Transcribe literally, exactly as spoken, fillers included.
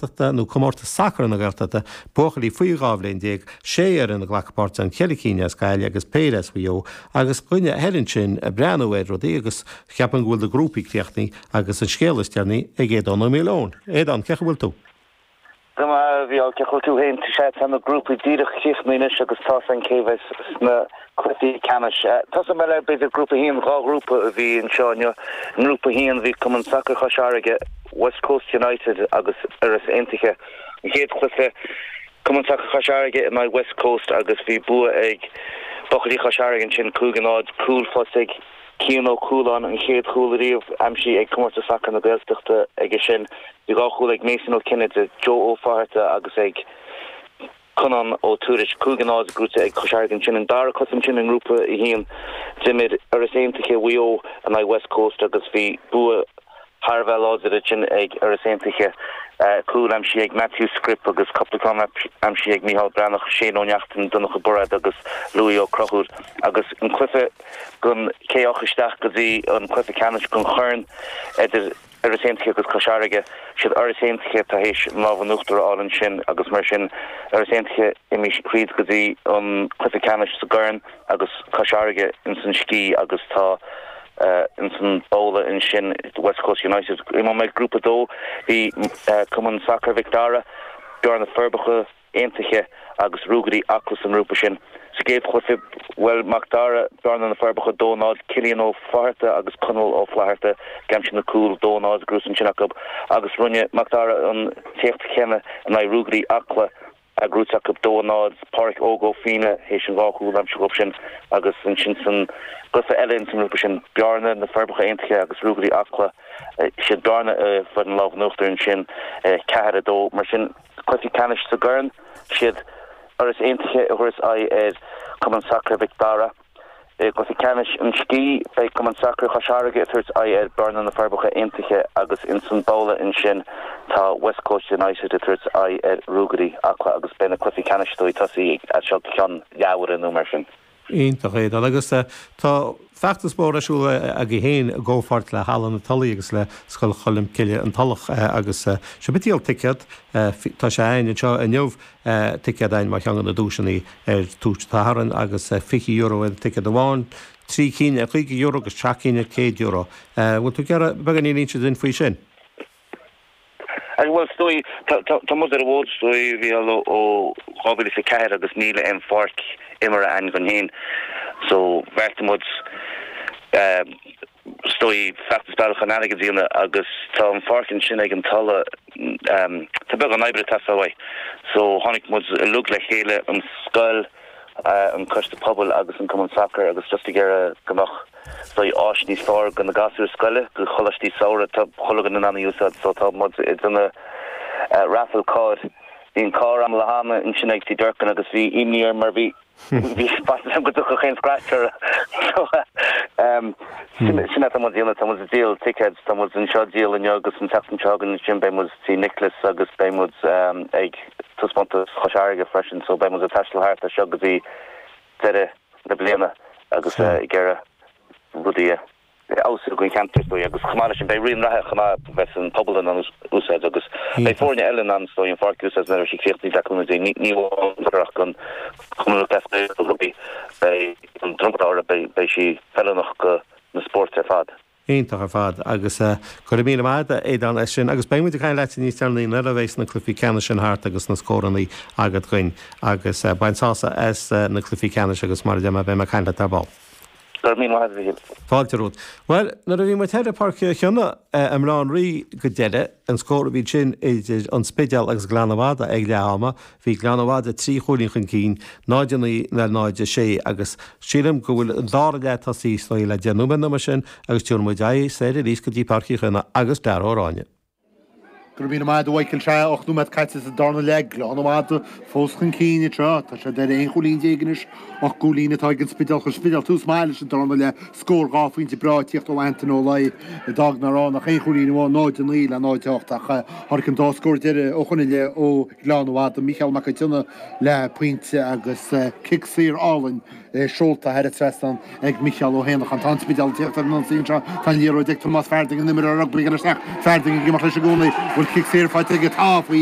Gaeltachta nó Comórtas Sacair na Gaeltachta, buachaillí faoi dhá bhliain déag, sé fhoireann ag glacadh páirt ann, ceithre cinn as Gaillimh agus péire as Mhaigh Eo, agus dhuine thoir ansin ag breathnú ar rudaí agus ceapaim go bhfuil na grúpaí críochnaithe agus an scéal is deireanaí ag Aodán Ó Maoileoin. Aodán, cén chaoi a bhfuil tú? Go maith, a Mhícheáil, cén chaoi a bhfuil tú féin? Sea, tá na grúpaí díreach críochnaithe anois agus tá's againn cé bheas sna cluichí ceannais. Tosóidh mé le, b'fhéidir, Grúpa a haon, dhá ghrúpa a bhí anseo inniu. I nGrúpa a haon bhí Cumann Sacair Chois Fharraige, West Coast United agus Iorras Aontaithe. An chéad chluiche, Cumann Sacair Chois Fharraige in aghaidh West Coast agus bhí bua ag buachaillí Chois Fharraige ansin, cúig a náid, cúl tosaigh Cian Ó Cualáin, an chéad chúl ariamh aimsithe ag Comórtas Sacair na Gaeltachta aige sin. Bhí dhá chúl ag Mason Ó Cinnéide, Joe Ó Fátharta agus ag Conán Ó Tuairisg. Cúig a náid gnóthaithe ag Cois Fharraige ansin. An dara cluiche ansin i nGrúpa a haon, d'imir Iorras Aontaithe Mhaigh Eo in aghaidh West Coast agus bhí bua thar a bheith láidir ansin ag Iorras Aontaithe. Cúl aimsithe ag Matthew Scrip agus cúpla ceann aimsithe ag Micheál Breathnach, Shane Ó Neachtain, Donncha Bairéad agus Louis Ó Conchúir. Agus an cluiche don cé a rachaidh isteach go dtí an cluiche ceannais don chorn idir Iorras Aontaithe agus Cois Fharraige. Siad Iorras Aontaithe atá théis an lámh in uachtar a fháil ansin agus mar sin Iorras Aontaithe imithe thríd go dtí an cluiche ceannais sa gcorn agus Cois Fharraige ins an scí agus tá ins an babhla ansin West Coast United. Imeoidh mé Grúpa a dó bhí Cumann Sacair Mhic Dara, Bearna Forbacha, Aontaithe agus Ruagairí Acla sa ngrúpa sin. Sa gcéad chluiche, bhuail Mac Dara, Bearna na Forbacha, dó náid, Cillian Ó Fátharta agus Conall Ó Flatharta ag aimsiú na cúl, dó náid gnóthaithe ansin acu agus rinne Mac Dara an t-éacht céanna in aghaidh Ruagairí Acla, gnóthaithe acu dó náid, Páraic Óg Ó Fianna théis an dhá chúl a aimsiú dhóibh sin agus ansin san gcluiche eile ins an ngrúpa sin, Bearna na Forbacha Aontaithe agus Ruagairí Acla, siad Bearna a fuair an lámh in uachtar ansin, ceathair a dó. Mar sin. Cluichí ceannais sa gCorn, siad Iorras Aontaithe a thabharfas aghaidh ar Chumann Sacair Mhic Dara. I gcluiche ceannais an Scí, beidh Cumann Sacair Chois Fharraige ag tabhairt aghaidh ar Bearna na Forbacha Aontaithe agus ins an babhla ansin tá West Coast United ag tabhairt aghaidh ar Ruagairí Acla agus beidh na cluichí ceannais dóigh tosaí as seo go ceann leathuaire nó mar sin. Iontach, Aodán. Agus tá feachtas mór ar siúl agaibh féin i gcomhpháirt le Halla na Tulaí agus le Scoil Cholmcille, An Tulach agus sibh ag díol ticéad. Tá sé againn anseo inniu, ticéad againn mar cheann de na duaiseanna ar Tús an tSathairn agus fiche euro ar an ticéad amháin, trí cinn ar chaoga euro agus seacht gcinn ar céad euro. Bhfuil tú ag iarraidh beagáinín a inse duinn faoi sin? Bhuel, is dóigh, tá muid ar an bhfód, is dóigh, a Mhícheáil, ó dhá mhíle is a ceathair agus níl aon pháirc imeartha againn dhúinn féin. So, bheartaigh muid, is dóigh, feachtas bealach chun airgead a dhéanamh agus tá an pháirc ansin ag an Tulaigh, tá beagán oibre ag teastáil uaidh. So, tháinig muid uilig le chéile, an scoil, an coiste pobail agus an cumann sacair agus just ag iarraidh go mbeadh, is dóigh, áis níos fearr do na gasúir scoile, do choláistí samhraidh, tá chuile dhuine in ann í a úsáid so tá muid ag déanamh raffle carr. Bhí an carr agam le hana ansin ag Tigh Durkin agus bhí imní orm mar bhí bhí faitíos orm go dtiocfadh aon scratch orthu. So sin sin atá muid ag déanamh, tá muid ag díol tickets, tá muid anseo ag díol inniu agus an tseachtain seo chugainn ansin beidh muid Tigh Nicholas agus beidh muid ag taispeántas Chois Fharraige freisin so beidh muid ag taisteal thart as seo go dtí deireadh na bliana agus ag iarraidh rudaí a fheabhsú don cheantar is dóigh agus chomh maith leis sin beidh rith an reatha chomh maith bheas an pobal in ann úsáid agus beidh foirne eile in ann is dóigh an pháirc a úsáid nuair a bheidh sí críochnaithe le cúnamh Dé ní ní amháin ach don Chumann Lúthchleas Gael rugbaí beidh an dromchla beidh sí feiliúnach do na spóirt ar fad. Iontach ar fad agus go raibh míle maith agat a Aodáin as sin agus beidh muid ag caint leat níos deireanaí nuair a bheas na cluichí ceannais sin thart agus na scóranna agat dhuinn agus bain sásamh as na cluichí ceannais agus mar a deir mé beidh mé ag caint leat ar ball. Go raibh míle maith agat a Mhíchíl. Fáilte romhat. Bhuel, nuair a bhí muid thoir i Páirc Uí Chionnaith i mBaile Átha an Rí go deireadh, an scór a bhí ansin idir An Spidéal agus Gleann an Mhadaidh ag leath ama, Bhí Gleann an Mhadaidh trí chúilín chun cinn, náid a naoi le náid a sé, agus sílim go bhfuil an dara leath tosaithe is dóigh le deich nóiméad nó mar sin agus tabharfaidh muid aghaidh soir arís go dtí Páirc Uí Chionnaith agus Dara Ó Ráinne. Go raibh míle maith agat a Mhichael. Sea, ocht nóiméad caite sa darna leath, Gleann an Mhadaidh fós chun cinn anseo. Tá siad ar aon chúilín déag anois, ocht gcúilín atá ag an Spidéal. Chuir an Spidéal tús maith leis an darna leath, scór dhá phointe breá ag tíocht ó Antain Ó Laoi a d'fhág nach raibh ach aon chúilín amháin, náid a naoi le náid a hocht, ach tháinig an dá scór deiridh ó shoin i leith ó Ghleann an Mhadaidh, Mícheál Mac an tSionnaigh le pointe agus cic saor álainn seolta thar an trasnán ag Mícheál Ó hÉanacháin. Tá an Spidéal ag tíocht ar an ionsaí anseo. Tá an liathróid ag Tomás Farding, an imreoir rugbaí ag dul isteach. Farding ag imeacht leis i gcónaí. Bhfuil cic saor faighte aige? Tá faoi.